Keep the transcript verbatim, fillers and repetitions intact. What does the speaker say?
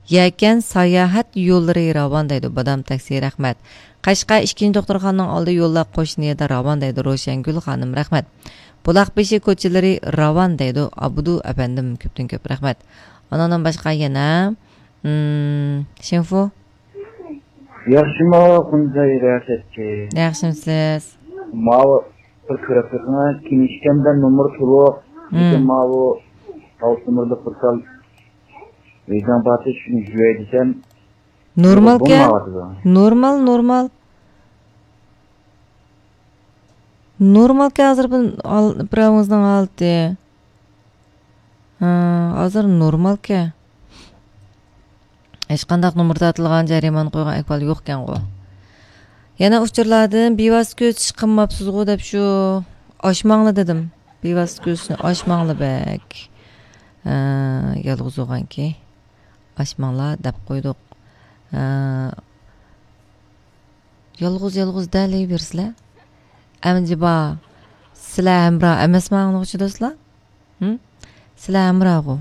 يەكەن ساياھەت يوللىرى راۋان دەيدۇ، بادام تاكسى، رەھمەت. قەشقەر ئىككىنچى دوختۇرخانىنىڭ ئالدى يوللار قوشنا يەردە راۋان دەيدۇ، روشەنگۈل خانىم، رەھمەت. بۇلاق بېشى كوچىلىرى راۋان دەيدۇ، ئابدۇ ئەپەندىم، كۆپتىن كۆپ رەھمەت. ئانىڭدىن باشقا يەنە، مم، شىنفۇ. ياخشىمۇ، خۇنزەي رىياسەتچى؟ ياخشىمسىز؟ ماۋۇ بىر كۆرۈپ بېقىڭ، كىنىشكامدا نومۇر تولۇق. مم. لېكىن ماۋۇ ئالتە نومۇرلۇق بىر تال ۋىجدان پاتىش شۇنى يۇياي دېسەم، نورمالكەن. بولمايۋاتىدۇ. نورمال، نورمال. نورمالكەن ھازىر بۇ ھال-، بىراۋىڭىزنىڭ ھالىتى. ھا، ھازىر نورمالكەن. ھېچقانداق نومۇر تارتىلغان، جەرىمانە قويغان ئەھۋال يوقكەنغۇ. يەنە ئۇچۇرلاردىن بىۋاسىتە كۆزىتىش قىلماپسىزغۇ دەپ شۇ ئاچماڭلا دېدىم. بىۋاسىتە كۆزىتىشنى ئاچماڭلا بەك. ھا، يالغۇز بولغانكى. ئاچماڭلار دەپ قويدۇق. ھە، يالغۇز، يالغۇز دەلەيبېرىسىلەر. ئەمجىبا، سىلەر ھەمراھ ئەمەسمۇ ئاڭلىغۇچى دوستلار؟ ھىم؟ سىلەر ھەمراھغۇ.